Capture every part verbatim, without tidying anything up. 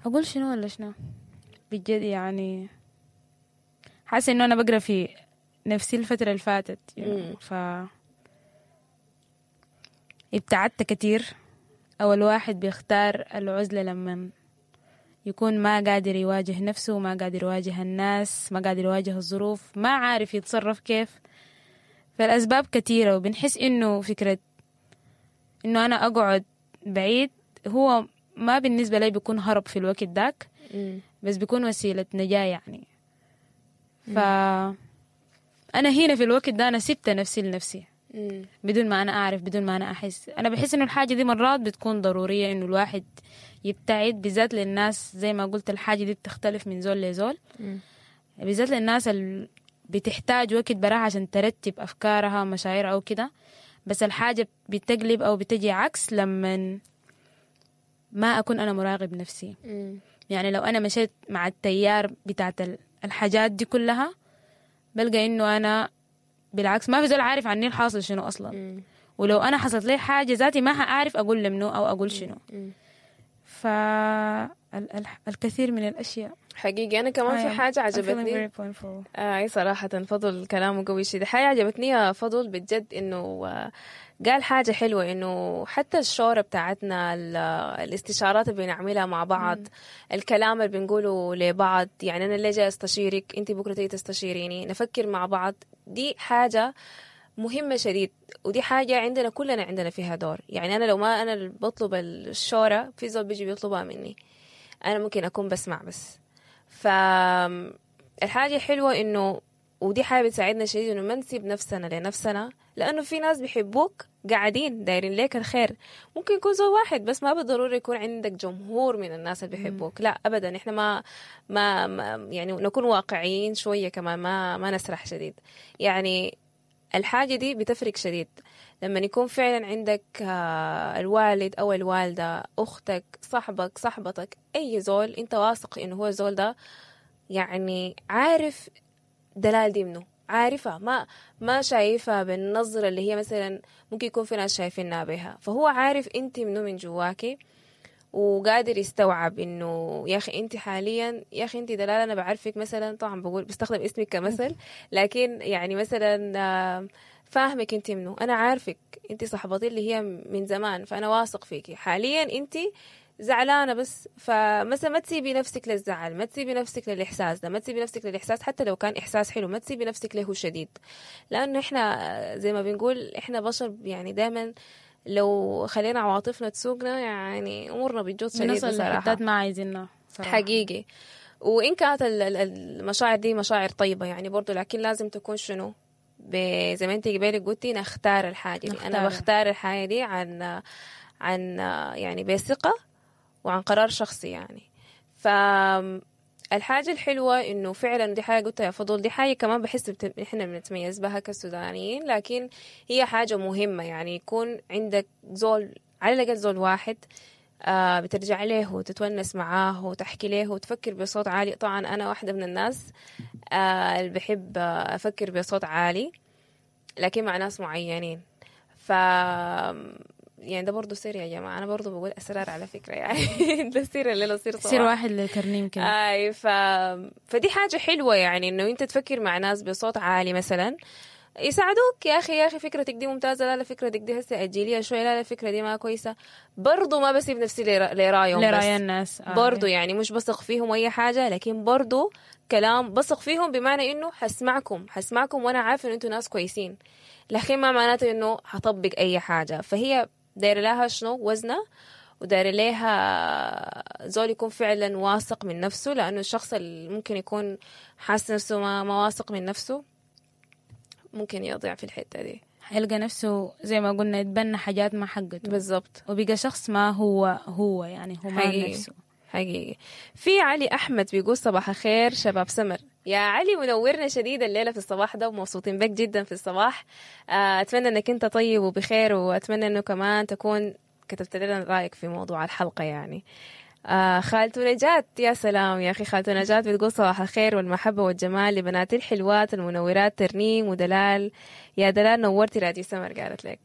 أقول شنو ولا شنو بجد يعني حاسة إنه أنا بقرأ في نفسي الفترة اللي فاتت مم. ف ابتعدت كتير. أو الواحد بيختار العزلة لما يكون ما قادر يواجه نفسه، ما قادر يواجه الناس، ما قادر يواجه الظروف، ما عارف يتصرف كيف. فالأسباب كتيرة، وبنحس إنه فكرة إنه أنا أقعد بعيد هو ما بالنسبة لي بيكون هرب في الوقت داك، مم. بس بيكون وسيلة نجاة يعني. ف أنا هنا في الوقت ده أنا سبت نفسي لنفسي مم. بدون ما أنا أعرف، بدون ما أنا أحس. أنا بحس إنه الحاجة دي مرات بتكون ضرورية إنه الواحد يبتعد، بالذات للناس زي ما قلت الحاجة دي بتختلف من زول لزول، مم. بالذات للناس اللي بتحتاج وقت براها عشان ترتب أفكارها مشاعرها أو كده. بس الحاجة بتقلب أو بتجي عكس لما ما أكون أنا مراقب نفسي. مم. يعني لو أنا مشيت مع التيار بتاعت الحاجات دي كلها بلقى إنه أنا بالعكس ما في زول عارف عني الحاصل شنو أصلا. مم. ولو أنا حصلت لي حاجة ذاتي ما هأعرف أقول لمنو أو أقول شنو. مم. فالكثير من الأشياء حقيقي أنا كمان في I am- حاجة I'm feeling عجبتني. very powerful. آه أي صراحة فضل كلامه قوي شديد. حاجة عجبتني يا فضل بجد إنه آه، قال حاجة حلوة، إنه حتى الشورى بتاعتنا، ال- الاستشارات اللي بنعملها مع بعض، الكلام اللي بنقوله لبعض، يعني أنا اللي جاي أستشيرك، أنت بكرة تيجي تستشيريني، نفكر مع بعض، دي حاجة مهمة شديد، ودي حاجة عندنا كلنا عندنا فيها دور. يعني أنا لو ما أنا اللي بطلب الشورى، في زول بيجي بيطلبها مني، أنا ممكن أكون بسمع بس. فالحاجة الحلوة إنه، ودي حاجة بتساعدنا شديد، إنه ما نسيب نفسنا لنفسنا، لأنه في ناس بيحبوك قاعدين دايرين ليك الخير. ممكن يكون زول واحد بس، ما بالضروري يكون عندك جمهور من الناس اللي بيحبوك، لا أبدا. إحنا ما, ما, ما يعني نكون واقعيين شوية كمان، ما ما نسرح شديد. يعني الحاجة دي بتفرق شديد لما يكون فعلا عندك آه، الوالد أو الوالدة، أختك، صاحبك، صاحبتك، أي زول أنت واثق إنه هو الزول ده يعني عارف دلال دي منه، عارفة، ما ما شايفها بالنظرة اللي هي مثلا ممكن يكون في ناس شايفينها بها، فهو عارف أنت منه من جواكي، وقادر يستوعب انه يا اخي انت حاليا، يا اخي انت دلال انا بعرفك مثلا، طبعا بقول بستخدم اسمك كمثل، لكن يعني مثلا آه، فاهمك انت منه، انا عارفك انت صاحبتي اللي هي من زمان، فانا واثق فيكي. حاليا انت زعلانة بس، فمثلا ما تسيبي نفسك للزعل، ما تسيبي نفسك للاحساس ده، ما تسيبي نفسك للاحساس حتى لو كان احساس حلو، ما تسيبي نفسك له شديد، لانه احنا زي ما بنقول احنا بشر، يعني دائما لو خلينا عواطفنا تسوقنا يعني امورنا بتجوط شديد بنوصل بصراحة. لحتات ما عايزينها صراحة. حقيقي. وإن كانت ال- ال- المشاعر دي مشاعر طيبة يعني برضو، لكن لازم تكون شنو، ب- زي ما انت قبالك قلتي نختار الحاجة دي. أنا نختارها. بختار الحاجة دي عن عن يعني بثقة وعن قرار شخصي يعني. فالحاجة الحلوة إنه فعلا دي حاجة قلتها يا فضل، دي حاجة كمان بحس بت... إحنا بنتميز بها كسودانيين، لكن هي حاجة مهمة، يعني يكون عندك زول، على الأقل زول واحد آه بترجع له وتتونس معاه وتحكي له وتفكر بصوت عالي. طبعا أنا واحدة من الناس آه اللي بحب آه أفكر بصوت عالي، لكن مع ناس معينين. ف يعني ده برضه سر يا جماعة، أنا برضه بقول أسرار على فكرة يعني ده سر الليلة، سر سر صباح. واحد لترنيم كده. أي ف... فدي حاجة حلوة يعني إنه أنت تفكر مع ناس بصوت عالي مثلا يساعدوك، يا أخي يا أخي فكرتك دي ممتازة، لا لا فكرتك دي هسه أجيليها شوية، لا لا الفكرة دي ما كويسة. برضو ما بسيب نفسي لرا- لرايهم بس. لرأي الناس آه. برضو يعني مش بثق فيهم أي حاجة، لكن برضو كلام بثق فيهم بمعنى إنه حسمعكم، حسمعكم وأنا عارفة إنه أنتوا ناس كويسين، لكن ما معناته إنه حطبق أي حاجة. فهي دايرة لها شنو وزنة، ودايرة لها زول يكون فعلا واثق من نفسه، لأنه الشخص اللي ممكن يكون حاسس نفسه ما, ما واثق من نفسه ممكن يضيع في الحتة دي. حيلقى نفسه زي ما قلنا يتبنى حاجات ما حقته، بالضبط، وبقى شخص ما هو هو، يعني هو ما حقيقي. نفسه. حقيقي. في علي أحمد بيقول صباح الخير شباب سمر. يا علي منورنا شديد الليلة في الصباح ده، ومبسوطين بك جدا في الصباح. آه، أتمنى أنك أنت طيب وبخير، وأتمنى أنه كمان تكون كتبت لنا رأيك في موضوع الحلقة يعني. آه، خالته نجاة، يا سلام يا أخي، خالته نجاة بتقول صباح الخير والمحبة والجمال لبناتي الحلوات المنورات ترنيم ودلال. يا دلال نورتي راديو سمر، قالت لك.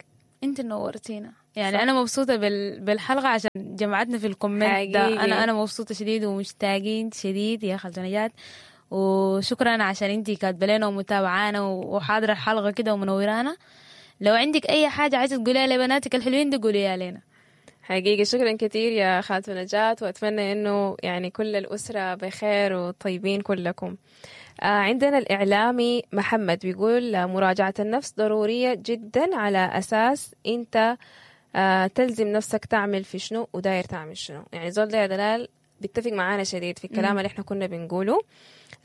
انت نورتينا يعني صح. انا مبسوطة بال... بالحلقة عشان جمعتنا في ال comment ده. انا انا مبسوطة شديد ومشتاقين شديد يا خالتو نجاة، وشكرا عشان انت كاتبه لنا ومتابعانا وحاضره الحلقة كده ومنورانا. لو عندك اي حاجة عايزه تقوليها لبناتك الحلوين دي قوليها لنا. حقيقي شكرا كثير يا خالتو نجاة، واتمنى انه يعني كل الاسرة بخير وطيبين كلكم. آه عندنا الإعلامي محمد بيقول مراجعة النفس ضرورية جدا على أساس أنت آه تلزم نفسك تعمل في شنو وداير تعمل شنو. يعني زول ده يا دلال بيتفق معانا شديد في الكلام اللي احنا كنا بنقوله.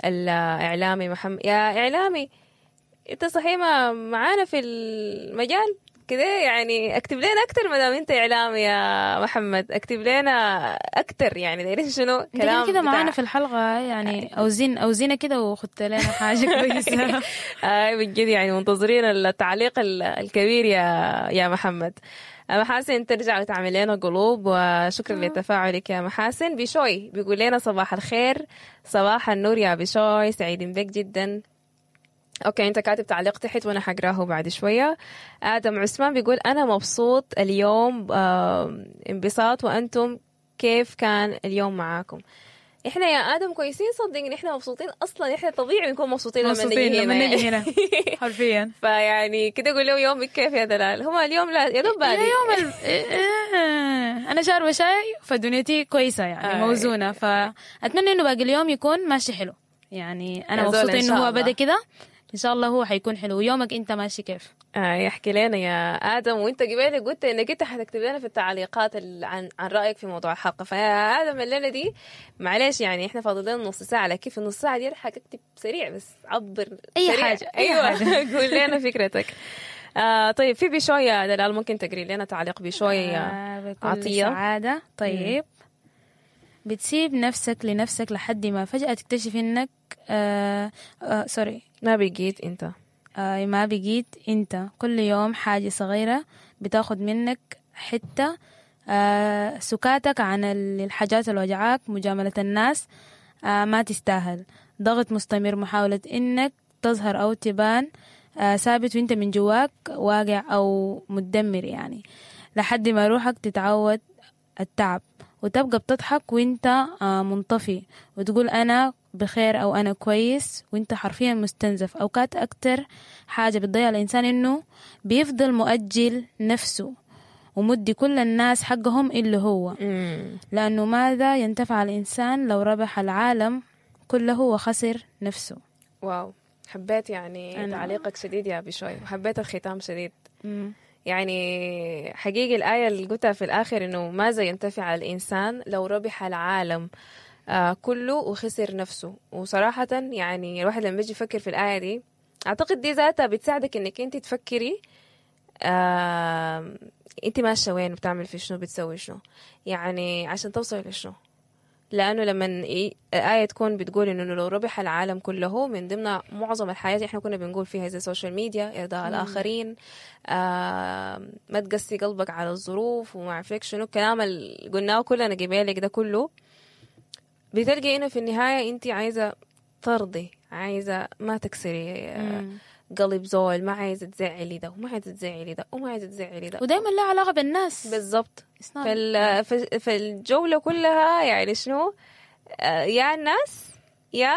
الإعلامي محمد، يا إعلامي أنت صحيح ما معانا في المجال كده، يعني اكتب لنا اكتر ما دام انت اعلامي يا محمد، اكتب لنا اكتر يعني دايرين شنو كلام كده معانا في الحلقة يعني، اوزين اوزينا كده وخدت لنا حاجة كويسة. اي بجد يعني منتظرين التعليق الكبير يا يا محمد. محاسن ترجع وتعمل لنا قلوب، وشكرا لتفاعلك يا محاسن. بشوي بيقول لنا صباح الخير، صباح النور يا بشوي، سعيدين بك جدا. okay انت كاتب تعليق تحت وانا حقراه بعد شوية. ادم عثمان بيقول انا مبسوط اليوم آه انبساط، وانتم كيف كان اليوم معاكم؟ احنا يا ادم كويسين، صدقني احنا مبسوطين اصلا، احنا طبيعي نكون مبسوطين لما نجي هنا لما نجي هنا حرفيا. فيعني كده قول له يومك كيف يا دلال؟ هما اليوم لا يا دوب بادي يوم ال... انا شاربه شاي فدنيتي كويسة يعني آه. موزونة، فاتمنى انه باقي اليوم يكون ماشي حلو. يعني انا مبسوطة انه هو بدا كده، ان شاء الله هو حيكون حلو. يومك انت ماشي كيف؟ آه يحكي لنا يا ادم، وانت قبل قلت انك انت حتكتب لنا في التعليقات عن عن رايك في موضوع الحلقة. فيا ادم الليلة دي معلش يعني احنا فاضل لنا نص ساعة، لكن في النص ساعة دي حتكتب سريع، بس عبر اي سريع. حاجة. ايوه قول لنا فكرتك. آه طيب في بشوي يا دلال، ممكن تقري لنا تعليق بشوي آه عطية سعادة. طيب مم. بتسيب نفسك لنفسك لحد ما فجأة تكتشف انك آه آه sorry ما بقيت انت، آه ما بقيت انت. كل يوم حاجة صغيرة بتاخد منك حتة، آه سكاتك عن الحاجات اللي وجعاك، مجاملة الناس آه ما تستاهل، ضغط مستمر، محاولة انك تظهر او تبان آه ثابت وانت من جواك واقع او متدمر، يعني لحد ما روحك تتعود التعب وتبقى بتضحك وانت منطفي وتقول انا بخير او انا كويس وانت حرفيا مستنزف. اوقات اكتر حاجة بتضيع الانسان انه بيفضل مؤجل نفسه ومدي كل الناس حقهم اللي هو، لانه ماذا ينتفع الانسان لو ربح العالم كله وخسر نفسه. واو، حبيت يعني أنا. تعليقك شديد يا بشوي، وحبيت الختام شديد. مم. يعني حقيقي الآية اللي قلتها في الآخر إنه ماذا ينتفع الإنسان لو ربح العالم آه كله وخسر نفسه. وصراحة يعني الواحد لما بيجي يفكر في الآية دي، أعتقد دي ذاتها بتساعدك إنك أنت تفكري آه أنت ماشية وين، بتعمل في شنو، بتسوي شنو، يعني عشان توصل لشنو. لأنه لما الآية تكون بتقول إنه لو ربح العالم كله، من ضمن معظم الحياة إحنا كنا بنقول فيها زي ال social media، إرضاء الآخرين، آه ما تقسي قلبك على الظروف وما عرفك شنو الكلام اللي قلناه كلنا قبالك ده كله، بتلقي إنه في النهاية أنت عايزة ترضي، عايزة ما تكسري آه قلب زول، ما عايزة تزعلي ده وما عايزة تزعلي ده وما عايزة تزعلي ده، ودايما لها علاقة بالناس. بالضبط. فال... فالجولة كلها يعني شنو، يا الناس يا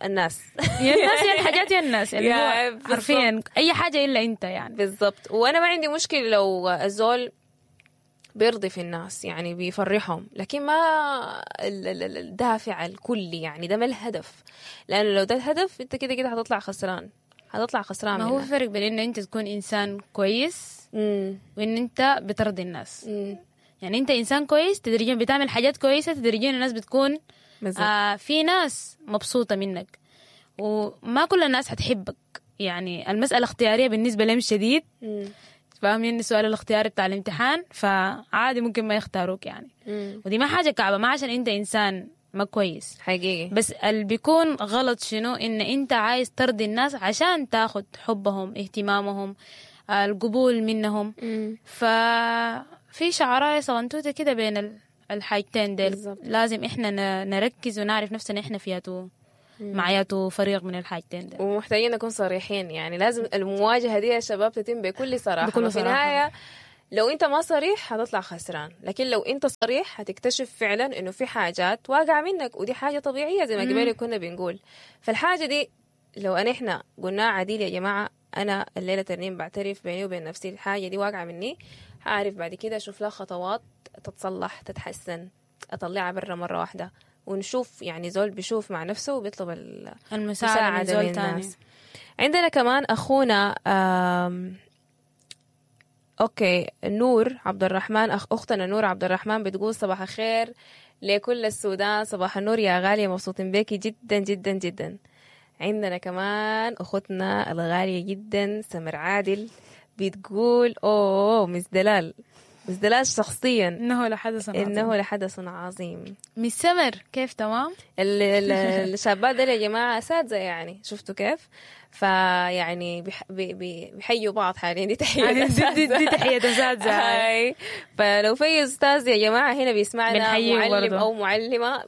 الناس يا الناس يا الحاجات يا الناس، اللي هو حرفيا أي حاجة إلا أنت يعني. بالضبط. وأنا ما عندي مشكلة لو الزول بيرضي في الناس يعني بيفرحهم، لكن ما الدافع الكلي يعني ده ما الهدف، لأنه لو ده الهدف أنت كده كده هتطلع خسران، هتطلع خسران. ما هو فرق بين إنه أنت تكون إنسان كويس مم. وإن أنت بترضي الناس. مم. يعني أنت إنسان كويس تدريجيا بتعمل حاجات كويسة، تدريجيا الناس بتكون آه في ناس مبسوطة منك، وما كل الناس هتحبك. يعني المسألة اختيارية بالنسبة لهم شديد، فاهمين السؤال الاختياري بتاع الامتحان، فعادي ممكن ما يختاروك يعني. مم. ودي ما حاجة كعبة، ما عشان أنت إنسان ما كويس حقيقي، بس اللي بيكون غلط شنو إن أنت عايز ترضي الناس عشان تاخد حبهم، اهتمامهم، القبول منهم. مم. ففي شعراية صغنتوتة كده بين الحاجتين ديل. بالزبط. لازم إحنا نركز ونعرف نفسنا إحنا فيها تو مع ياتو فريق من الحاجتين ده. ومحتاجين نكون صريحين، يعني لازم المواجهة دي يا شباب تتم بكل صراحة. بكل في صراحة. النهاية لو انت ما صريح حتطلع خسران، لكن لو انت صريح حتكتشف فعلا انه في حاجات واقعة منك، ودي حاجة طبيعية زي ما قبل كنا بنقول. فالحاجة دي لو انا احنا قلناها عديل يا جماعة، انا الليلة ترنيم بعترف بيني وبين نفسي الحاجة دي واقعة مني، هعرف بعد كده اشوف لها خطوات تتصلح تتحسن، اطلعها برا مرة واحدة، ونشوف يعني زول بيشوف مع نفسه وبيطلب ال المساعدة من مساعدة زول من تاني. الناس. عندنا كمان أخونا آم okay نور عبد الرحمن، أخ أختنا نور عبد الرحمن بتقول صباح الخير لكل السودان، صباح النور يا غالية، مبسوطين بيكي جدا جدا جدا. عندنا كمان أختنا الغالية جدا سمر عادل بتقول أوه Miss دلال، Miss دلال شخصيا إنه لحدث عظيم. إنه لحدث عظيم. Miss سمر كيف تمام؟ ال- ال- الشابات دول يا جماعة أساتذة يعني، شفتوا كيف؟ فيعني بيح- بي- بي- بيحيوا بعض حاليا، دي تحية دي, دي, دي تحية أساتذة. هاي. فلو في أستاذ يا جماعة هنا بيسمعنا، بنحييه معلم برضه. أو معلمة،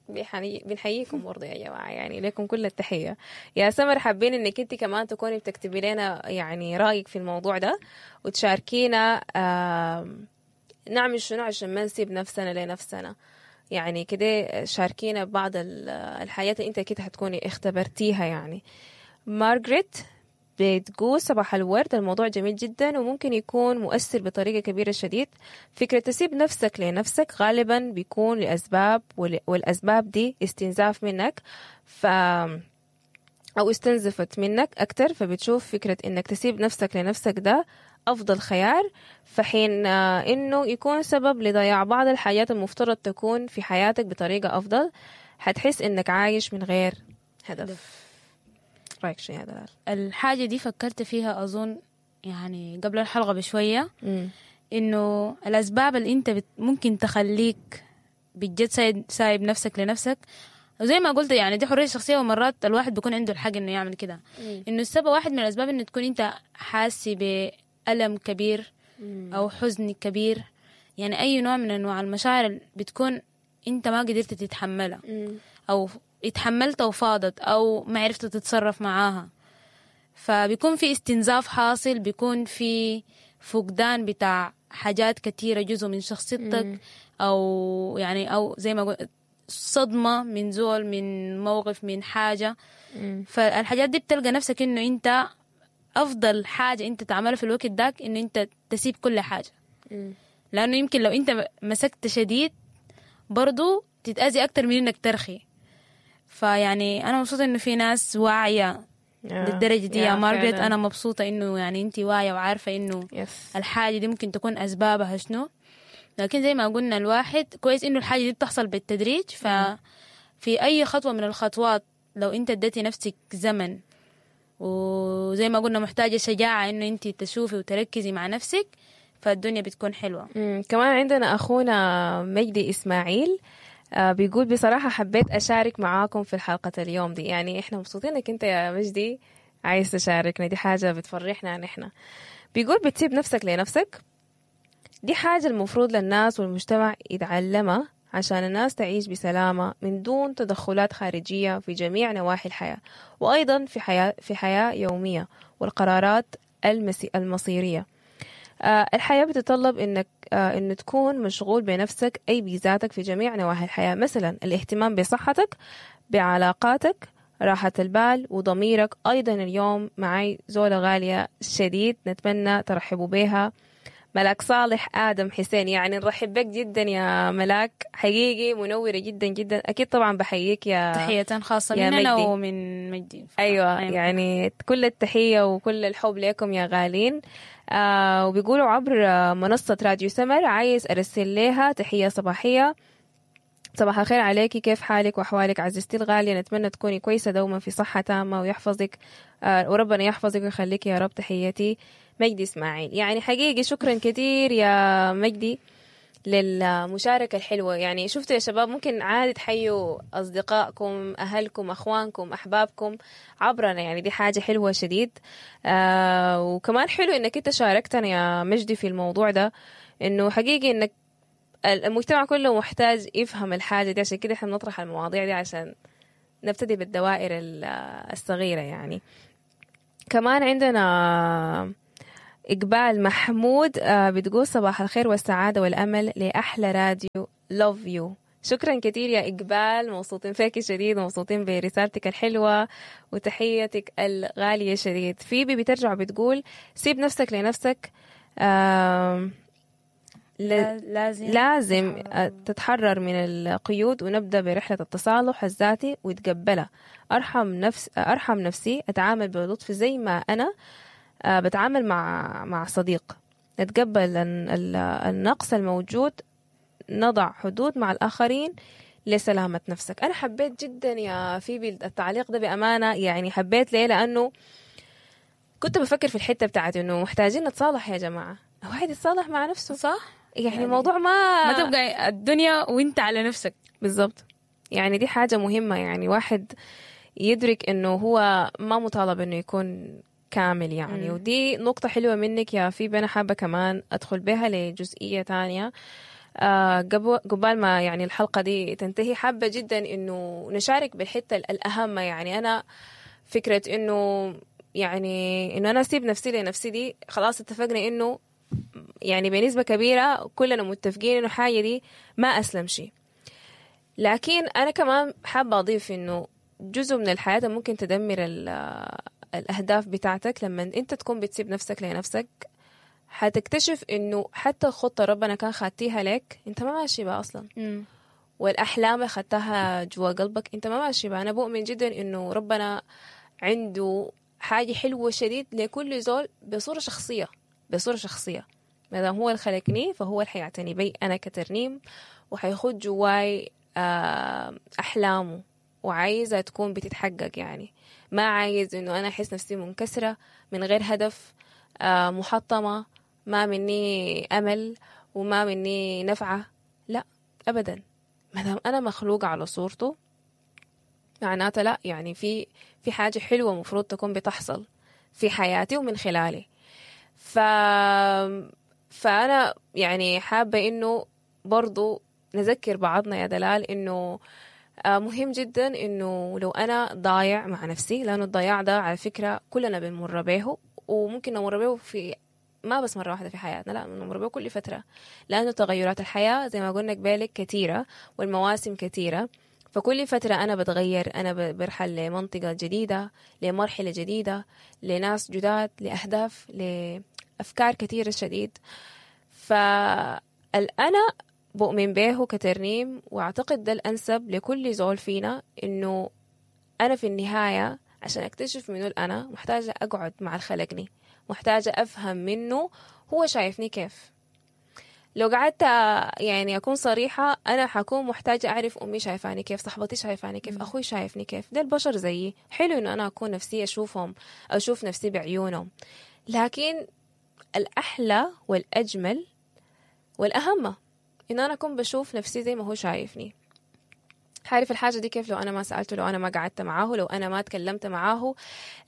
بيحني- بنحييكم برضه يا جماعة، يعني لكم كل التحية. يا سمر حابين إنك أنت كمان تكوني بتكتبي لنا يعني رأيك في الموضوع ده وتشاركينا، آم، نعمل شنو عشان ما نسيب نفسنا لنفسنا. يعني كده شاركينا ببعض ال- الحاجات اللي انت اكيد هتكوني اختبرتيها. يعني مارغريت بتقول صباح الورد، الموضوع جميل جدا وممكن يكون مؤثر بطريقة كبيرة شديد. فكرة تسيب نفسك لنفسك غالبا بيكون لأسباب، وال- والأسباب دي استنزاف منك، ف أو استنزفت منك أكتر، فبتشوف فكرة إنك تسيب نفسك لنفسك ده أفضل خيار، فحين آه، إنه يكون سبب لضياع بعض الحاجات المفترض تكون في حياتك بطريقة أفضل. حتحس إنك عايش من غير هدف. رأيك شنو يا دلال؟ الحاجة دي فكرت فيها أظن يعني قبل الحلقة بشوية، إنه الأسباب اللي أنت بت ممكن تخليك بجد سايب, سايب نفسك لنفسك، وزي ما قلت يعني دي حرية شخصية، ومرات الواحد بيكون عنده الحق إنه يعمل كده. إنه السبب واحد من الأسباب إنه تكون أنت حاسي بألم كبير أو حزن كبير، يعني أي نوع من أنواع المشاعر اللي بتكون أنت ما قدرت تتحملها، أو اتحملتها وفاضت، أو ما عرفت تتصرف معاها، فبيكون في استنزاف حاصل، بيكون في فقدان بتاع حاجات كتيرة جزء من شخصيتك، أو يعني أو زي ما قلت صدمة من زول، من موقف، من حاجة. فالحاجات دي بتلقى نفسك إنه أنت أفضل حاجة أنت تعملها في الوقت داك إنه أنت تسيب كل حاجة، لأنه يمكن لو أنت مسكت شديد برضو تتأذي أكتر من إنك ترخي. فيعني أنا مبسوطة إنه في ناس واعية للدرجة دي يا مارغريت. أنا مبسوطة إنه يعني أنت واعية وعارفة إنه yes. الحاجة دي ممكن تكون أسبابها شنو، لكن زي ما قلنا الواحد كويس إنه الحاجة دي بتحصل بالتدريج. ففي أي خطوة من الخطوات لو أنت اديتي نفسك زمن، وزي ما قلنا محتاجة شجاعة إنه أنت تشوفي وتركزي مع نفسك، فالدنيا بتكون حلوة. مم. كمان عندنا أخونا مجدي إسماعيل آه بيقول بصراحة حبيت أشارك معاكم في الحلقة اليوم دي. يعني إحنا مبسوطين إنك أنت يا مجدي عايز تشاركنا، دي حاجة بتفرحنا نحن. بيقول بتسيب نفسك لنفسك، دي حاجة المفروض للناس والمجتمع يتعلمها عشان الناس تعيش بسلامة من دون تدخلات خارجية في جميع نواحي الحياة، وأيضا في حياة في حياة يومية والقرارات المسي المصيرية. آه، الحياة بتتطلب إنك آه، إنه تكون مشغول بنفسك، أي بذاتك في جميع نواحي الحياة، مثلا الاهتمام بصحتك، بعلاقاتك، راحة البال وضميرك. أيضا اليوم معي زولة غالية شديد نتمنى ترحبوا بها، ملاك صالح آدم حسين. يعني نرحب بك جدا يا ملاك، حقيقي منورة جدا جدا. أكيد طبعا بحييك يا تحية خاصة يا مننا مجدي. ومن مجدي. أيوة يعني كل التحية وكل الحب لكم يا غالين. آه وبيقولوا عبر آه، منصة راديو سمر عايز أرسل لها تحية صباحية. صباح الخير عليكي، كيف حالك وأحوالك عزيزتي الغالية؟ نتمنى تكوني كويسة دوما في صحة تامة ويحفظك آه وربنا يحفظك ويخليك يا رب. تحياتي مجدي إسماعيل. يعني حقيقي شكرا كثير يا مجدي للمشاركة الحلوة. يعني شفتوا يا شباب، ممكن عادي تحيوا أصدقائكم، أهلكم، أخوانكم، أحبابكم عبرنا، يعني دي حاجة حلوة شديد. آه وكمان حلو إنك أنت شاركتنا يا مجدي في الموضوع ده، إنه حقيقي إنك المجتمع كله محتاج يفهم الحاجة دي، عشان كده إحنا بنطرح المواضيع دي عشان نبتدي بالدوائر الصغيرة يعني. كمان عندنا إقبال محمود بتقول صباح الخير والسعادة والأمل لأحلى راديو love you. شكرا كثير يا إقبال، مبسوطين فيك شديد ومبسوطين برسالتك الحلوة وتحيتك الغالية شديد. فيبي بترجع بتقول سيب نفسك لنفسك، آه لازم لازم تتحرر من القيود ونبدأ برحلة التصالح الذاتي وتقبلها. أرحم نفس أرحم نفسي، أتعامل بلطف زي ما أنا بتعامل مع مع صديق، نتقبل النقص الموجود، نضع حدود مع الآخرين لسلامة نفسك. أنا حبيت جدا يا فيبي التعليق ده بأمانة، يعني حبيت ليه؟ لأنه كنت بفكر في الحتة بتاعت إنه محتاجين نتصالح يا جماعة، واحد يتصالح مع نفسه صح؟ يعني, يعني الموضوع ما ما تبقى الدنيا وانت على نفسك بالضبط. يعني دي حاجة مهمة، يعني واحد يدرك إنه هو ما مطالب إنه يكون كامل يعني. مم. ودي نقطة حلوة منك يا فيبي، أنا حابة كمان أدخل بها لجزئية تانية آه قبل ما يعني الحلقة دي تنتهي. حابة جدا إنه نشارك بالحتة الأهم، يعني أنا فكرة إنه يعني إنه أنا أسيب نفسي لنفسي دي خلاص اتفقنا إنه يعني بنسبة كبيرة كلنا متفقين إنه حاجة دي ما أسلم شيء، لكن أنا كمان حابة أضيف إنه جزء من الحياة ممكن تدمر الأهداف بتاعتك. لما أنت تكون بتسيب نفسك لنفسك حتكتشف إنه حتى الخطة ربنا كان خاتيها لك أنت ما ماشي بها أصلا. م. والأحلام اللي خدتها جوا قلبك أنت ما ماشي بها. أنا بؤمن جدا إنه ربنا عنده حاجة حلوة شديد لكل زول بصورة شخصية، بصورة شخصية. ما دام هو اللي خلقني فهو اللي حيعتني بي أنا كترنيم، وحيخد جواي أحلامه وعايزة تكون بتتحقق. يعني ما عايز إنه أنا أحس نفسي منكسرة من غير هدف، محطمة، ما مني أمل وما مني نفعة، لا أبدا. ما دام أنا مخلوقة على صورته معناته لا، يعني في في حاجة حلوة مفروض تكون بتحصل في حياتي ومن خلالي. ف... فأنا يعني حابة إنه برضو نذكر بعضنا يا دلال إنه مهم جدا إنه لو أنا ضايع مع نفسي، لأنه الضياع ده على فكرة كلنا بنمر به، وممكن نمر به في ما بس مرة واحدة في حياتنا، لا نمر به كل فترة، لأنه تغيرات الحياة زي ما قلنا قبالك كثيرة والمواسم كثيرة، فكل فترة أنا بتغير، أنا برحل لمنطقة جديدة، لمرحلة جديدة، لناس جداد، لأهداف، لأفكار كثيرة شديد. فالأنا بؤمن به كترنيم، وأعتقد ده الأنسب لكل زول فينا، إنه أنا في النهاية عشان أكتشف منه الأنا محتاجة أقعد مع الخلقني، محتاجة أفهم منه هو شايفني كيف. لو قعدت يعني أكون صريحة، أنا حكون محتاجة أعرف أمي شايفاني كيف، صاحبتي شايفاني كيف، أخوي شايفني كيف. ده البشر زيي، حلو إنه أنا أكون نفسي أشوفهم، أشوف نفسي بعيونهم، لكن الأحلى والأجمل والأهم إنه أنا أكون بشوف نفسي زي ما هو شايفني. حعرف الحاجة دي كيف لو أنا ما سألته، لو أنا ما قعدت معاه، لو أنا ما تكلمت معاه،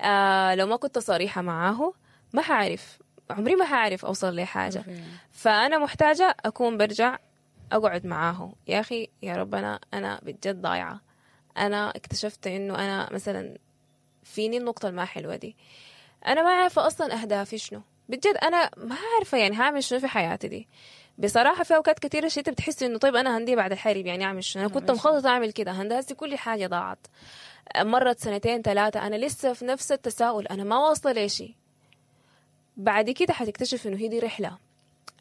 آه لو ما كنت صريحة معاه، ما حعرف، عمري ما حعرف أوصل لحاجة. فأنا محتاجة أكون برجع أقعد معاه، يا أخي يا ربنا أنا بجد ضايعة، أنا اكتشفت إنه أنا مثلا فيني النقطة الما حلوة دي، أنا ما عارفة أصلا أهدافي شنو بجد، أنا ما عارفة يعني هعمل شنو في حياتي دي. بصراحة في أوقات كثيرة شيء بتحس إنه طيب أنا هندي بعد الحرب يعني أعمل شنو، أنا كنت مخططة أعمل كده، هندسة كل حاجة ضاعت، مرت سنتين ثلاثة أنا لسه في نفس التساؤل، أنا ما واصلة لشيء. بعد كده حتكتشف إنه هي دي رحلة.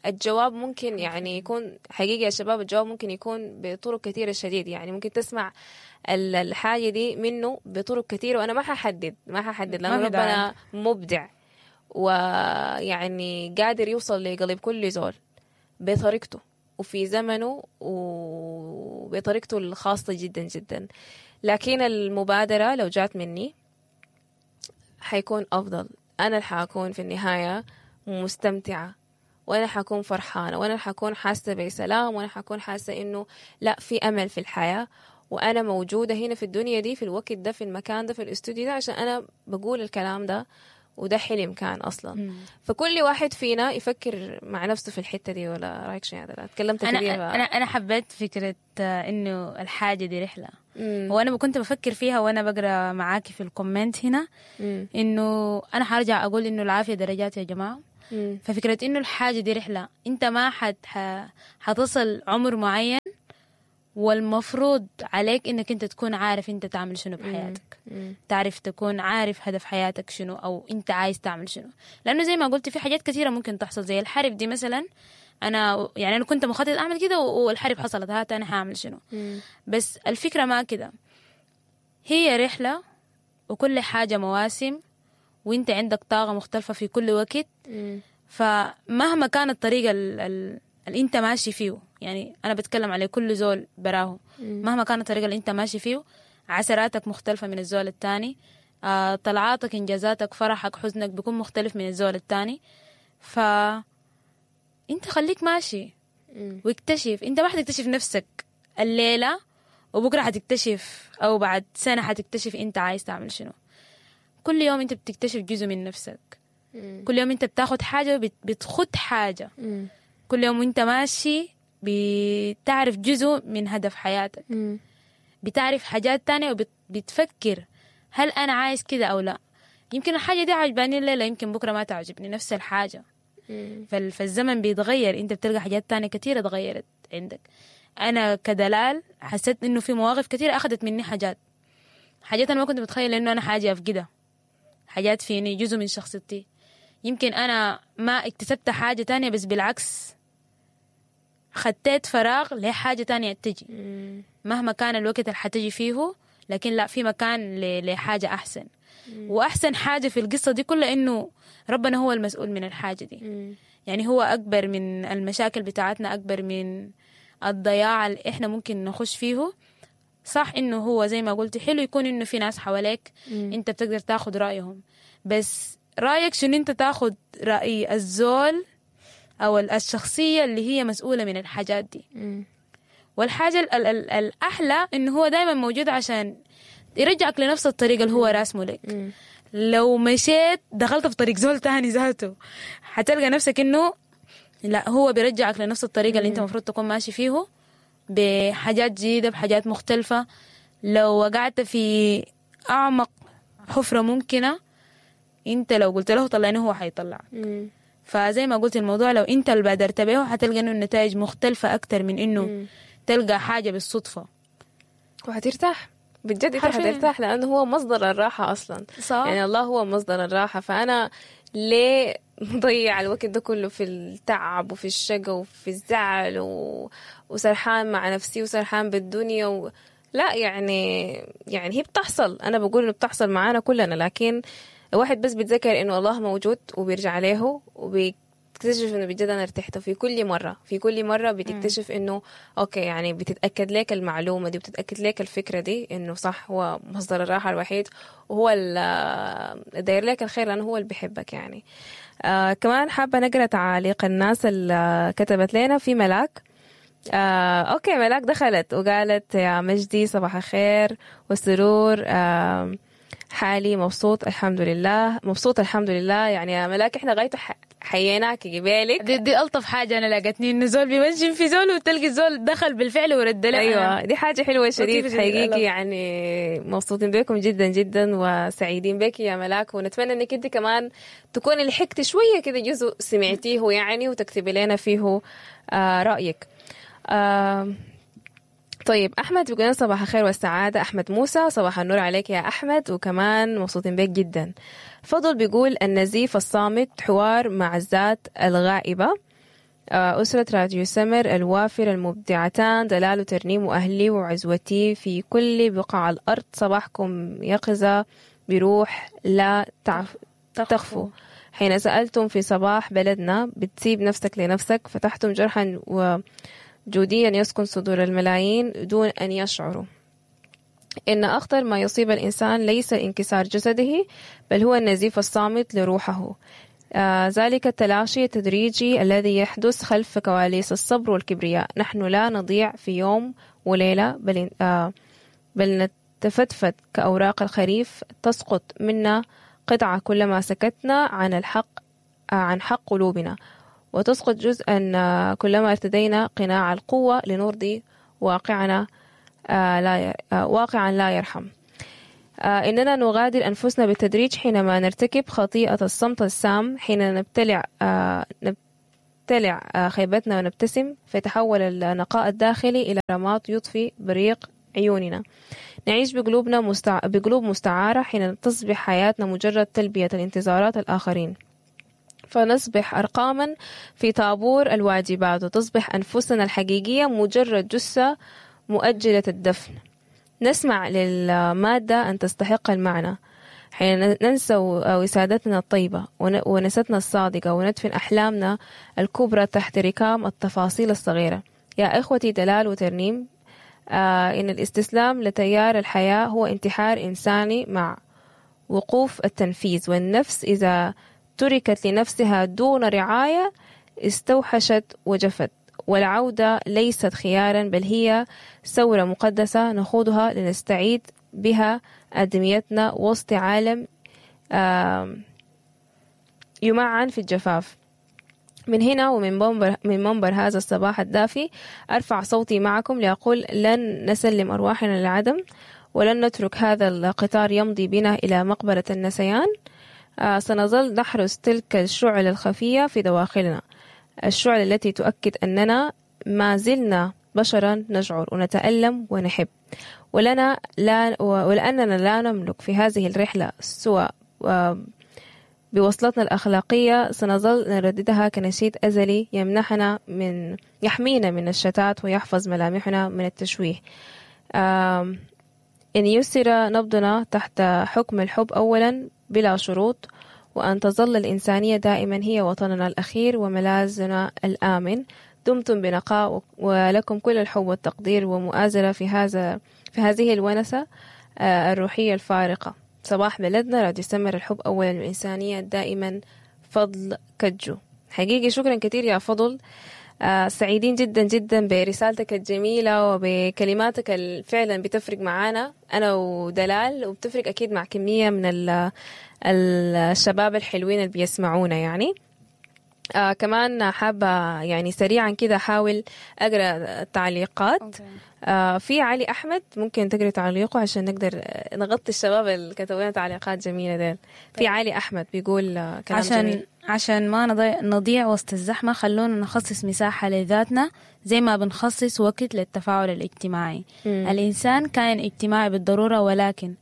الجواب ممكن يعني يكون حقيقي يا شباب، الجواب ممكن يكون بطرق كثيرة شديد، يعني ممكن تسمع الحاجة دي منه بطرق كثيرة، وأنا ما ححدد ما ححدد لأنه ربنا مبدع ويعني قادر يوصل لقلب كل زول بطريقته وفي زمنه وبطريقته الخاصة جدا جدا. لكن المبادرة لو جات مني حيكون أفضل، أنا اللي حأكون في النهاية مستمتعة، وأنا حأكون فرحانة، وأنا حأكون حاسة بسلام، وأنا حأكون حاسة إنه لا في أمل في الحياة، وأنا موجودة هنا في الدنيا دي في الوقت ده في المكان ده في الاستوديو ده عشان أنا بقول الكلام ده وده حلم كان اصلا. فكل واحد فينا يفكر مع نفسه في الحتة دي. ولا رايك شنو يا دلال؟ تكلمت انا كثير. انا انا حبيت فكرة آه، انه الحاجة دي رحله. مم. وانا كنت بفكر فيها وانا بقرا معاكي في ال comment هنا، مم. انه انا حرجع اقول انه العافية درجات يا جماعة. مم. ففكره انه الحاجة دي رحله، انت ما حت ح- حتصل عمر معين، والمفروض عليك انك انت تكون عارف انت تعمل شنو بحياتك. مم. تعرف تكون عارف هدف حياتك شنو، او انت عايز تعمل شنو. لانه زي ما قلت في حاجات كثيرة ممكن تحصل، زي الحرب دي مثلا. انا يعني انا كنت مخطط اعمل كده والحرب حصلت، هات انا حاعمل شنو؟ مم. بس الفكرة ما كده، هي رحله وكل حاجة مواسم، وانت عندك طاقة مختلفة في كل وقت. مم. فمهما كان الطريق ال- ال- اللي انت ماشي فيه، يعني انا بتكلم على كل زول براه، مهما كان الطريق اللي انت ماشي فيه، عثراتك مختلفة من الزول التاني، آه، طلعاتك، انجازاتك، فرحك، حزنك بيكون مختلف من الزول التاني. ف انت خليك ماشي مم. واكتشف. انت ما حتكتشف نفسك الليلة وبكرة حتكتشف، او بعد سنة حتكتشف انت عايز تعمل شنو. كل يوم انت بتكتشف جزء من نفسك. مم. كل يوم انت بتاخد حاجة وبت- بتخد حاجة. مم. كل يوم وانت ماشي بتعرف جزء من هدف حياتك، مم. بتعرف حاجات تانية، وبتفكر هل أنا عايز كده أو لا. يمكن الحاجة دي عجباني الليلة، يمكن بكرة ما تعجبني نفس الحاجة. مم. فال- فالزمن بيتغير، انت بتلقى حاجات تانية كتيرة اتغيرت عندك. أنا كدلال حسيت إنه في مواقف كتيرة أخذت مني حاجات، حاجات أنا ما كنت متخيلة إنه أنا حاجة أفقدها، حاجات فيني جزء من شخصيتي. يمكن أنا ما اكتسبت حاجة تانية، بس بالعكس خطيت فراغ لحاجة تانية تجي. مم. مهما كان الوقت اللي حتجي فيه، لكن لا، في مكان ل- لحاجة أحسن. وأحسن حاجة في القصة دي كلها إنه ربنا هو المسؤول من الحاجة دي. مم. يعني هو أكبر من المشاكل بتاعتنا، أكبر من الضياع اللي إحنا ممكن نخش فيه. صح إنه هو زي ما قلت حلو يكون إنه في ناس حواليك مم. أنت بتقدر تاخد رأيهم، بس رأيك شنو؟ أنت تاخد رأي الزول أو الشخصية اللي هي مسؤولة من الحاجات دي. مم. والحاجة ال ال ال الأحلى إنه هو دايما موجود عشان يرجعك لنفس الطريق اللي هو راسمه لك. مم. لو مشيت دخلت في طريق زول تاني ذاته، حتلقى نفسك إنه لا، هو بيرجعك لنفس الطريق اللي أنت المفروض تكون ماشي فيه، بحاجات جديدة، بحاجات مختلفة. لو وقعت في أعمق حفرة ممكنة، أنت لو قلت له طلعني هو حيطلعك. مم. فزي ما قلت الموضوع لو انت اللي بادرت به حتلقى انه النتائج مختلفة اكتر من انه مم. تلقى حاجة بالصدفة. وحترتاح بجد، انت حرفياً. حترتاح لانه هو مصدر الراحة اصلا. صح. يعني الله هو مصدر الراحة، فانا ليه مضيع الوقت ده كله في التعب وفي الشقا وفي الزعل و... وسرحان مع نفسي وسرحان بالدنيا و... لا يعني يعني هي بتحصل، انا بقول انه بتحصل معانا كلنا، لكن الواحد بس بيتذكر انه الله موجود وبيرجع له وبيكتشف انه بجد انا ارتحت. في كل مرة، في كل مرة بتكتشف انه okay، يعني بتتاكد لك المعلومة دي وبتتاكد لك الفكرة دي انه صح، هو مصدر الراحة الوحيد وهو اللي داير لك الخير لانه هو اللي بيحبك يعني. آه كمان حابة نقرا تعاليق الناس اللي كتبت لنا. في ملاك، آه، okay ملاك دخلت وقالت يا مجدي صباح الخير والسرور، آه، حالي مبسوط الحمد لله، مبسوط الحمد لله. يعني يا ملاك احنا غايته ح- حييناك قبالك. دي, دي الطف حاجة انا لاقتني، انه زول بيمنشن في زول وتلقي زول دخل بالفعل ورد له. ايوه دي حاجة حلوة شديد لطيفة شديد، حقيقي، الله. يعني مبسوطين بكم جدا جدا وسعيدين بك يا ملاك، ونتمنى انك انت كمان تكوني لحقتي شوية كده جزء سمعتيه يعني وتكتبي لنا فيه آه رايك. آه طيب احمد بيقول لنا صباح الخير والسعادة. احمد موسى صباح النور عليك يا احمد، وكمان مبسوطين بك جدا. فضل بيقول النزيف الصامت حوار مع الذات الغائبه. آه، أسرة راديو سمر الوافر المبدعتان دلال وترنيم وأهلي وعزوتي في كل بقاع الأرض، صباحكم يقظة بروح لا تعف تخفو. حين سألتم في صباح بلدنا بتسيب نفسك لنفسك، فتحتم جرحا وجوديا يسكن صدور الملايين دون أن يشعروا. إن أخطر ما يصيب الإنسان ليس انكسار جسده، بل هو النزيف الصامت لروحه. آه ذلك التلاشي التدريجي الذي يحدث خلف كواليس الصبر والكبرياء. نحن لا نضيع في يوم وليلة، بل, آه بل نتفتفت كأوراق الخريف، تسقط منا قطعة كلما سكتنا عن الحق آه، عن حق قلوبنا، وتسقط جزءا آه، كلما ارتدينا قناع القوة لنرضي واقعنا آه، لا ير- آه، واقعا لا يرحم. آه، إننا نغادر أنفسنا بالتدريج حينما نرتكب خطيئة الصمت السام، حين نبتلع آه، نبتلع آه، خيبتنا ونبتسم، فيتحول النقاء الداخلي إلى رماد يطفي بريق عيوننا. نعيش بقلوبنا مستع... بقلوب مستعارة حين تصبح حياتنا مجرد تلبية الانتظارات الآخرين، فنصبح أرقاما في طابور الواجبات، وتصبح أنفسنا الحقيقية مجرد جثة مؤجلة الدفن. نسمع للمادة أن تستحق المعنى حين ننسى وسادتنا الطيبة ون- ونستنا الصادقة، وندفن أحلامنا الكبرى تحت ركام التفاصيل الصغيرة. يا إخوتي دلال وترنيم، آه إن الاستسلام لتيار الحياة هو انتحار إنساني مع وقوف التنفيذ، والنفس إذا تركت لنفسها دون رعاية استوحشت وجفت، والعودة ليست خيارا بل هي ثورة مقدسة نخوضها لنستعيد بها آدميتنا وسط عالم آم، يمعن في الجفاف. من هنا ومن منبر, من منبر هذا الصباح الدافي أرفع صوتي معكم لأقول لن نسلم أرواحنا للعدم، ولن نترك هذا القطار يمضي بنا إلى مقبرة النسيان. آه، سنظل نحرس تلك الشعل الخفية في دواخلنا، الشعل التي تؤكد أننا ما زلنا بشرا نشعر ونتألم ونحب، ولنا لا ولأننا لا نملك في هذه الرحلة سوى آه، بوصلتنا الأخلاقية، سنظل نرددها كنشيد أزلي يمنحنا من يحمينا من الشتات ويحفظ ملامحنا من التشويه. آم، إن يسر نبضنا تحت حكم الحب أولا بلا شروط، وأن تظل الإنسانية دائما هي وطننا الأخير وملاذنا الآمن. دمتم بنقاء، ولكم كل الحب والتقدير ومؤازرة في هذا في هذه الونسة آه، الروحية الفارقة. صباح بلدنا، راديو سمر، الحب أولا والإنسانية دائما. فضل كجو، حقيقي شكرا كثير يا فضل. آه، سعيدين جدا جدا برسالتك الجميلة وبكلماتك اللي فعلا بتفرق معانا أنا ودلال، وبتفرق أكيد مع كمية من ال- الشباب الحلوين اللي بيسمعونا يعني. آه كمان حابة يعني سريعا كده أحاول أقرأ التعليقات. آه في علي أحمد، ممكن تقري تعليقه عشان نقدر نغطي الشباب اللي كتبوا لنا تعليقات جميلة ديل. في علي أحمد بيقول آه، كلام عشان جميل. عشان ما نضيع, نضيع وسط الزحمة، خلونا نخصص مساحة لذاتنا زي ما بنخصص وقت للتفاعل الاجتماعي. مم. الإنسان كائن اجتماعي بالضرورة، ولكن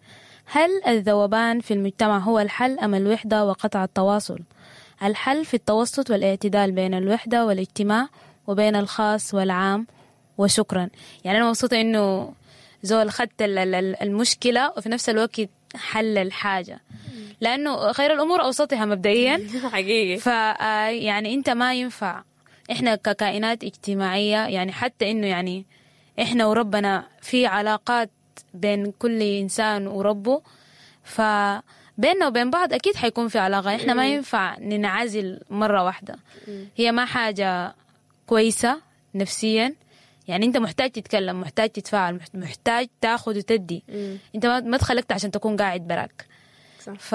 هل الذوبان في المجتمع هو الحل أم الوحدة وقطع التواصل؟ الحل في التوسط والاعتدال بين الوحدة والاجتماع وبين الخاص والعام. وشكرا. يعني أنا مبسوطة إنه زول خدت ال- ال- المشكلة وفي نفس الوقت حل الحاجة، لأنه خير الأمور أوسطها مبدئيا. حقيقي. ف يعني انت ما ينفع احنا ككائنات اجتماعية، يعني حتى انه يعني احنا وربنا في علاقات بين كل انسان وربه، فبيننا وبين بعض اكيد حيكون في علاقة. احنا ما ينفع ننعزل مرة واحدة، هي ما حاجة كويسة نفسيا. يعني انت محتاج تتكلم، محتاج تتفاعل، محتاج تاخذ وتدي. انت ما ما اتخلقت عشان تكون قاعد براك. صح. ف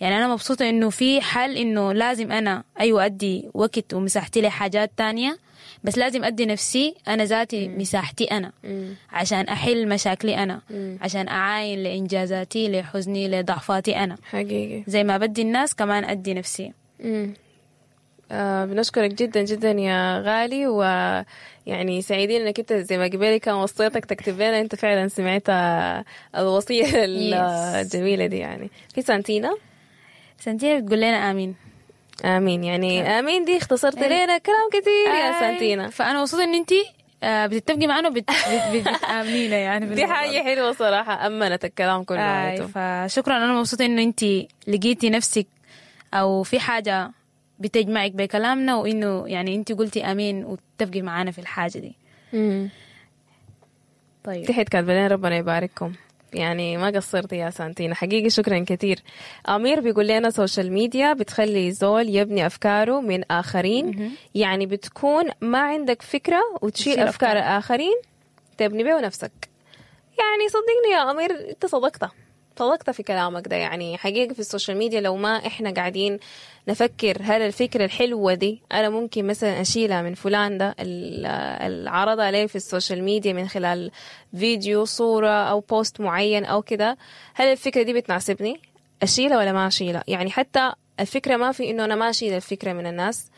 يعني انا مبسوطة انه في حل، انه لازم انا ايوه ادي وقت ومساحتي لحاجات تانية، بس لازم ادي نفسي انا ذاتي مساحتي انا، مم. عشان احل مشاكلي انا، مم. عشان اعاين لانجازاتي، لحزني، لضعفاتي انا. حقيقي. زي ما بدي الناس كمان ادي نفسي. مم. آه بنشكرك جدا جدا يا غالي، ويعني سعيدين انك انت زي ما قبالي كان وصيتك تكتب لنا، انت فعلا سمعت الوصية Yes. الجميلة دي. يعني في سانتينا سنتين بتقول لنا امين. امين، يعني امين دي اختصرت لنا كلام كثير يا آي. سانتينا. فانا مبسوطة ان انت بتتفقي معنا وبت بت- بتامنينا يعني دي بالموضوع. حاجة حلوة صراحة، امنت الكلام كله آي، عملته. فشكرا. انا مبسوطة انه انت لقيتي نفسك او في حاجة بتجمعك بكلامنا، وانه يعني انت قلتي امين وتتفقي معانا في الحاجة دي. مم. طيب تحت كاتبه لنا ربنا يبارككم، يعني ما قصرتي يا سانتينا حقيقي، شكرا كثير. امير بيقول لنا social media بتخلي زول يبني افكاره من اخرين، يعني بتكون ما عندك فكرة وتشيل تشيل افكار أفكار. الاخرين تبني بيه نفسك. يعني صدقني يا امير انت صدقت صدقت في كلامك ده. يعني حقيقة في ال social media لو ما احنا قاعدين نفكر هل الفكرة الحلوة دي انا ممكن مثلا اشيلها من فلان ده اللي عرضها لي في ال social media من خلال فيديو، صورة او post معين او كده، هل الفكرة دي بتناسبني؟ اشيلها ولا ما اشيلها؟ يعني حتى الفكرة ما في انه انا ما اشيل الفكرة من الناس،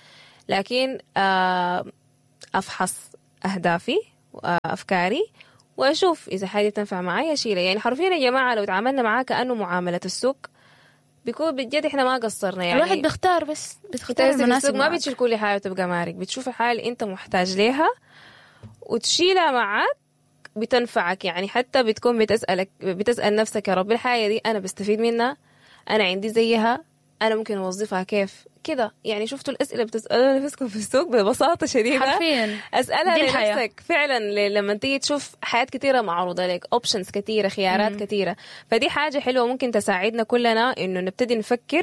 لكن افحص اهدافي وافكاري واشوف اذا حاجة تنفع معي اشيلها. يعني حرفيا يا جماعة لو تعاملنا معاه كانه معاملة السوق بيكون بجد احنا ما قصرنا. يعني الواحد بيختار، بس بتختار المناسب، ما بتشيل كل حاجة وتبقى مارك، بتشوف الحاجة اللي انت محتاج ليها وتشيلها معاك بتنفعك. يعني حتى بتكون بتسالك بتسال نفسك يا رب الحاجة دي انا بستفيد منها، انا عندي زيها، انا ممكن اوظفها كيف كده. يعني شفتوا الاسئلة بتسالوها نفسكم في السوق ببساطة شديدة، حرفيا اسالها لنفسك فعلا. لما تيجي تشوف حياة كثيرة معروضة لك، options كثيرة، خيارات كثيرة، فدي حاجة حلوة ممكن تساعدنا كلنا انه نبتدي نفكر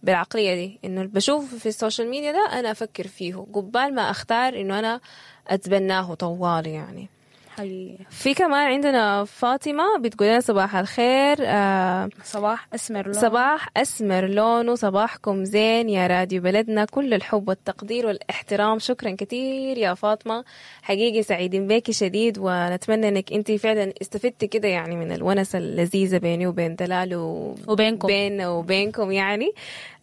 بالعقليه دي، انه بشوف في ال social media ده انا افكر فيه قبال ما اختار انه انا اتبناه طوال. يعني حقيقي. في كمان عندنا فاطمة بتقول لنا صباح الخير. آه صباح أسمر لونه، صباح أسمر لونه، صباحكم زين يا راديو بلدنا، كل الحب والتقدير والاحترام. شكرا كثير يا فاطمة، حقيقي سعيدين بيكي شديد، ونتمنى انك انت فعلا استفدتي كده يعني من الونسة اللذيذة بيني وبين دلال و... وبينكم بيننا وبينكم. يعني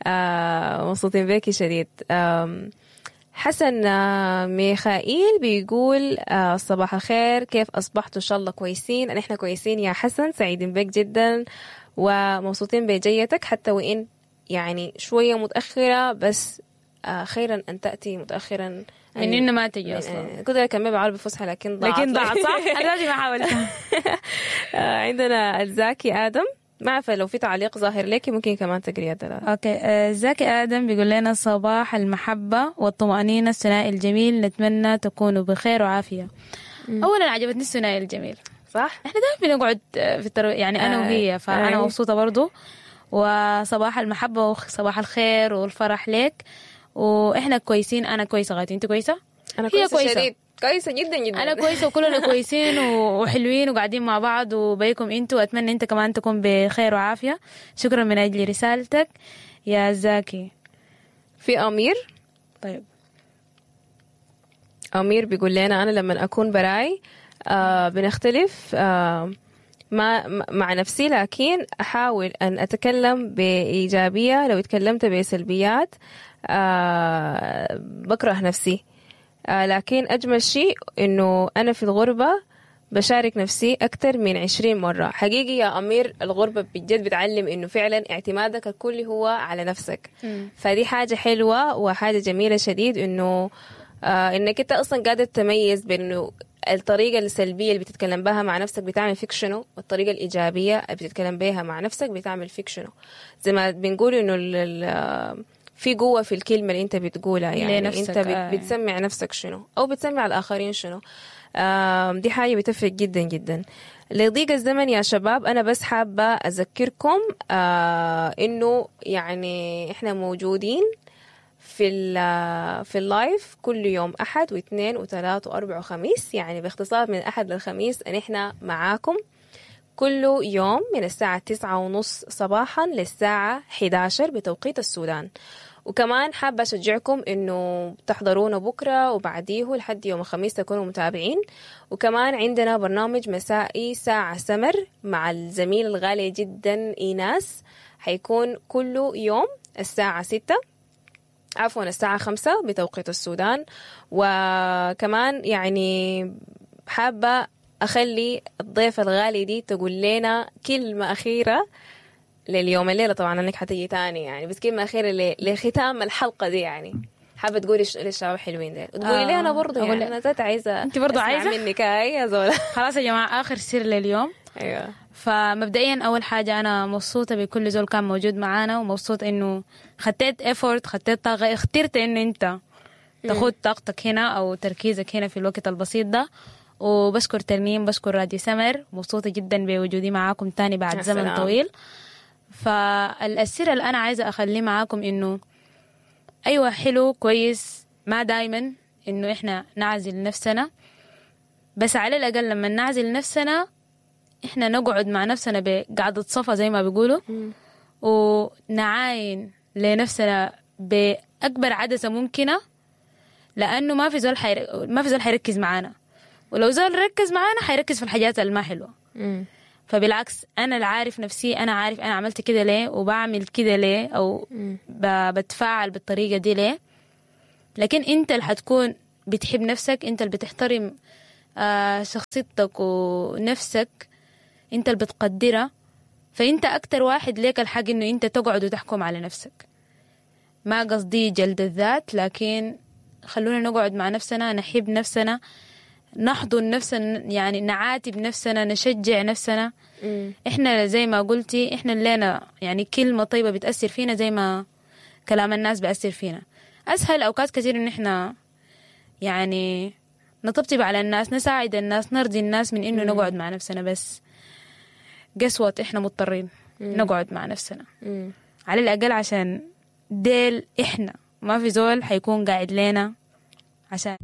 آه مبسوطين بيكي شديد. آه حسن ميخائيل بيقول صباح الخير، كيف أصبحتوا؟ إن شاء الله كويسين. نحن كويسين يا حسن، سعيدين بك جدا ومبسوطين بجيتك، حتى وإن يعني شوية متأخرة، بس خيرا أن تأتي متأخرا من إنه ما تجي أصلا. كنت أكمل بعربي فصحى لكن ضاعت، لكن ضاعت صح؟ أنا لازم أحاول. عندنا الزاكي آدم، ما عارفة لو في تعليق ظاهر لك ممكن كمان تقريه دلال. okay، زكي آدم بيقول لنا صباح المحبة والطمأنينة، الثنائي الجميل، نتمنى تكونوا بخير وعافية. مم. أولا عجبتني الثنائي الجميل، صح؟ احنا دائما بنقعد في الترو... يعني أنا وهي، فأنا مبسوطة برضو. وصباح المحبة وصباح الخير والفرح لك، وإحنا كويسين. أنا كويسة غايتي، أنت كويسة؟ أنا كويسة, كويسة شديد، كويسة جدا جدا. أنا كويسة وكلنا كويسين وحلوين وقاعدين مع بعض وبيكم انتوا، وأتمنى انت كمان تكون بخير وعافية. شكرا من أجل رسالتك يا زاكي. في أمير، طيب أمير بيقول لنا أنا لما أكون براي آه بنختلف آه ما مع نفسي، لكن أحاول أن أتكلم بإيجابية، لو اتكلمت بسلبيات آه بكره نفسي، آه لكن أجمل شيء إنه أنا في الغربة بشارك نفسي أكثر من عشرين مرة. حقيقي يا أمير، الغربة بجد بتعلم إنه فعلا اعتمادك الكلي هو على نفسك. م. فدي حاجة حلوة وحاجة جميلة شديد، إنه آه إنك أنت أصلا قادر تميز بين إنه الطريقة السلبية اللي بتتكلم بها مع نفسك بتعمل فيك شنو، والطريقة الإيجابية اللي بتتكلم بها مع نفسك بتعمل فيك شنو. زي ما بنقول إنه في قوة في الكلمة اللي انت بتقولها، يعني انت آه. بتسمع نفسك شنو او بتسمع الآخرين شنو. دي حاجة بتفرق جدا جدا. لضيق الزمن يا شباب، انا بس حابة اذكركم آه انه يعني احنا موجودين في في ال live كل يوم احد واثنين وثلاث واربع وخميس، يعني باختصار من الاحد للخميس ان احنا معاكم كل يوم من الساعة تسعة ونص صباحا للساعة حداشر بتوقيت السودان. وكمان حابة أشجعكم إنه تحضرونا بكرة وبعديه لحد يوم الخميس تكونوا متابعين. وكمان عندنا برنامج مسائي ساعة سمر مع الزميل الغالي جدا إيناس، حيكون كل يوم الساعة ستة عفوا الساعة خمسة بتوقيت السودان. وكمان يعني حابة أخلي الضيف الغالي دي تقول لنا كلمة أخيرة لليوم الليلة، طبعا أنك حتيجي تاني يعني، بس كلمة أخيرة لختام الحلقة دي، يعني حابة تقولي للشباب حلوين دي وتقولي آه لي أنا برضو، يعني أنا ذات عايزة أنت برضو عايزة منك يا زولا. خلاص يا جماعة، آخر سر لليوم. أيوة. فمبدئيا أول حاجة أنا مبسوطة بكل زول كان موجود معانا، ومبسوط إنه خطيت effort، خطيت طاقة، اخترت إنه أنت تاخد طاقتك هنا أو تركيزك هنا في الوقت البسيط ده. وبشكر ترنيم، بشكر راديو سمر، مبسوطة جدا بوجودي معاكم تاني بعد زمن طويل. فالسر اللي أنا عايزة أخليه معاكم إنه أيوة حلو كويس، ما دايما إنه إحنا نعزل نفسنا، بس على الأقل لما نعزل نفسنا احنا نقعد مع نفسنا بقعدة صفا زي ما بيقولوا، ونعاين لنفسنا بأكبر عدسة ممكنة، لأنه ما في زول حير... ما في زول حيركز معانا، ولو زول ركز معانا حيركز في الحاجات اللي ما حلوة. مم. فبالعكس أنا اللي عارف نفسي، أنا عارف أنا عملت كده ليه وبعمل كده ليه أو ب... بتفاعل بالطريقة دي ليه. لكن أنت اللي حتكون بتحب نفسك، أنت اللي بتحترم آه شخصيتك ونفسك، أنت اللي بتقدرها، فأنت أكتر واحد ليك الحق إنه أنت تقعد وتحكم على نفسك. ما قصدي جلد الذات، لكن خلونا نقعد مع نفسنا، نحب نفسنا، نحضن نفسنا، يعني نعاتب نفسنا، نشجع نفسنا. مم. احنا زي ما قلتي احنا لنا يعني كلمة طيبة بتأثر فينا زي ما كلام الناس بيأثر فينا. أسهل أوقات كثير إن احنا يعني نطبطب على الناس، نساعد الناس، نرضي الناس، من إنه نقعد مع نفسنا. بس guess what، احنا مضطرين نقعد مع نفسنا مم. على الأقل عشان ديل احنا ما في زول حيكون قاعد لنا عشان